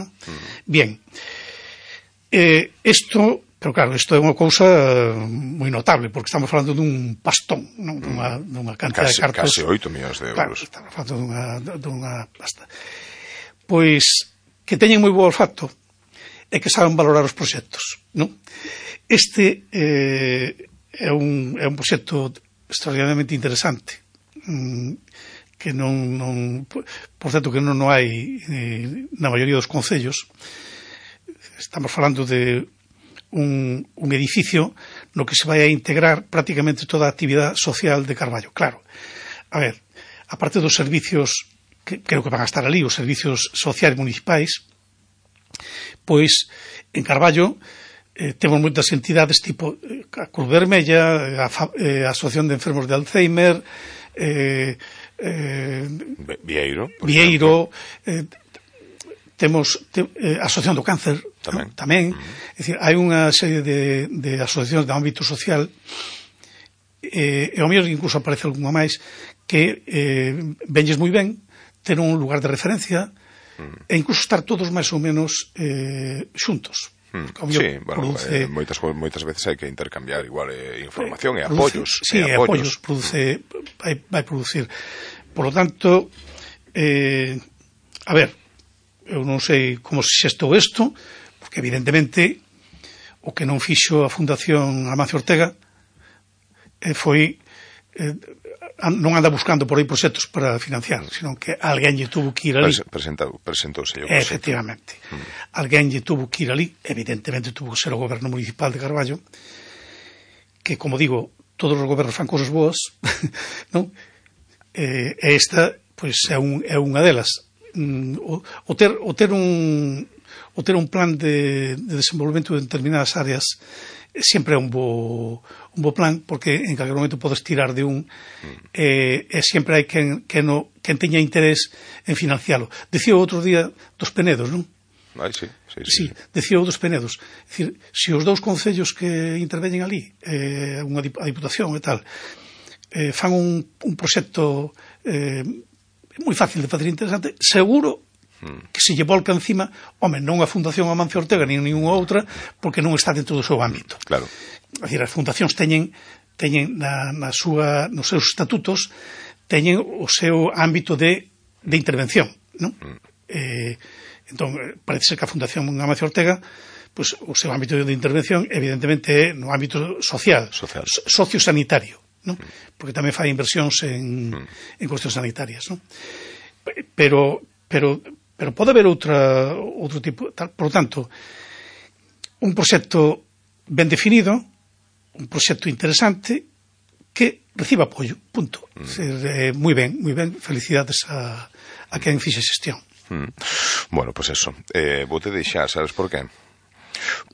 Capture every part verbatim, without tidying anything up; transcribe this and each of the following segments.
¿no? Mm. Bien. Eh, esto, pero claro, isto é unha cousa moi notable, porque estamos falando dun pastón, non? Dunha, dunha cantidad casi, de cartos. Casi oito millóns de euros. Claro, estamos falando dunha, dunha pasta. Pois, que teñen moi bo olfato e que saben valorar os proxectos, non? Este eh, é un, é un proxecto extraordinariamente interesante, que non, non por certo que non, non hai eh, na maioría dos concellos. Estamos falando de un, un edificio no que se vai a integrar prácticamente toda a actividade social de Carballo. Claro, a ver, aparte dos servicios que creo que van a estar ali, os servicios sociais municipais, pois en Carballo eh, temos moitas entidades tipo eh, a Cruz Vermella, a, eh, a Asociación de Enfermos de Alzheimer, eh, eh, Vieiro, Vieiro, eh, temos te, eh, a Asociación do Cáncer tamén, ¿no? tamén. Uh-huh. É dicir, hai unha serie de, de asociacións de ámbito social eh, e ao mellor incluso aparece algunha máis que eh, venlles moi ben ter un lugar de referencia uh-huh. e incluso estar todos máis ou menos eh, xuntos. Hmm. Sí, bueno, produce, eh, moitas, moitas veces hai que intercambiar igual eh, información eh, e apoios. Sí, e apoios, produce, vai, vai producir. Por lo tanto, eh, a ver, eu non sei como se xestou isto, porque evidentemente o que non fixo a Fundación Amancio Ortega eh, foi eh, non anda buscando por aí proxectos para financiar, sino que alguén lle tuvo que ir ali. Presentou, presentouse o proxecto. Efectivamente. Mm. Alguén lle tuvo que ir ali, evidentemente tuvo que ser o goberno municipal de Carballo, que, como digo, todos os gobernos fan cosas boas, non? E eh, esta, pois, é, un, é unha delas. Mm, o, o, ter, o, ter un, o ter un plan de, de desenvolvemento de determinadas áreas sempre é un bo, un bo plan, porque en calquer momento podes tirar de un mm. e, e sempre hai quen, quen, no, quen teña interés en financialo. Decía o outro día dos Penedos, non? Ai, sí, sí, sí, sí, decía o dos Penedos. É dicir, se os dous concellos que interveñen ali, eh, unha, a Diputación e tal, eh, fan un, un proxecto eh, moi fácil de facer interesante, seguro que se lle volca encima, home, non a Fundación Amancio Ortega nin ninguna outra, porque non está dentro do seu ámbito. Claro. É dicir, as fundacións teñen, teñen na, na súa, nos seus estatutos, teñen o seu ámbito de, de intervención, non? Mm. Eh, entón, parece ser que a Fundación Amancio Ortega, pues, o seu ámbito de intervención, evidentemente, é no ámbito social, social. So, sociosanitario, non? Mm. Porque tamén fai inversións en, mm. en cuestións sanitarias, non? Pero, pero pero pode haber outra, outro tipo tal. Por lo tanto, un proxecto ben definido, un proxecto interesante que reciba apoio, punto. Mm. Ser, eh, moi ben, moi ben, felicidades a, a quen fixe xestión. Mm. Bueno, pois pues eso, eh, vou te deixar, sabes por qué?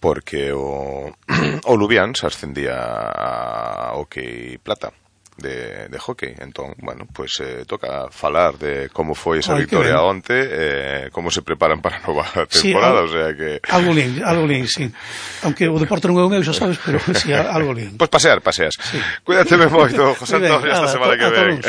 Porque o, o Lubián se ascendía a Hockey Plata de, de hockey, entón, bueno, pues eh, toca falar de como foi esa Ay, victoria onte, eh, como se preparan para a nova temporada, sí, o sea que... Algo lín, algo lín, sí. Aunque o deporte non é o meu, xa sabes, pero sí, algo lín. Pois pues pasear, paseas. Sí. Cuídate moito, José Antonio, esta semana que ven.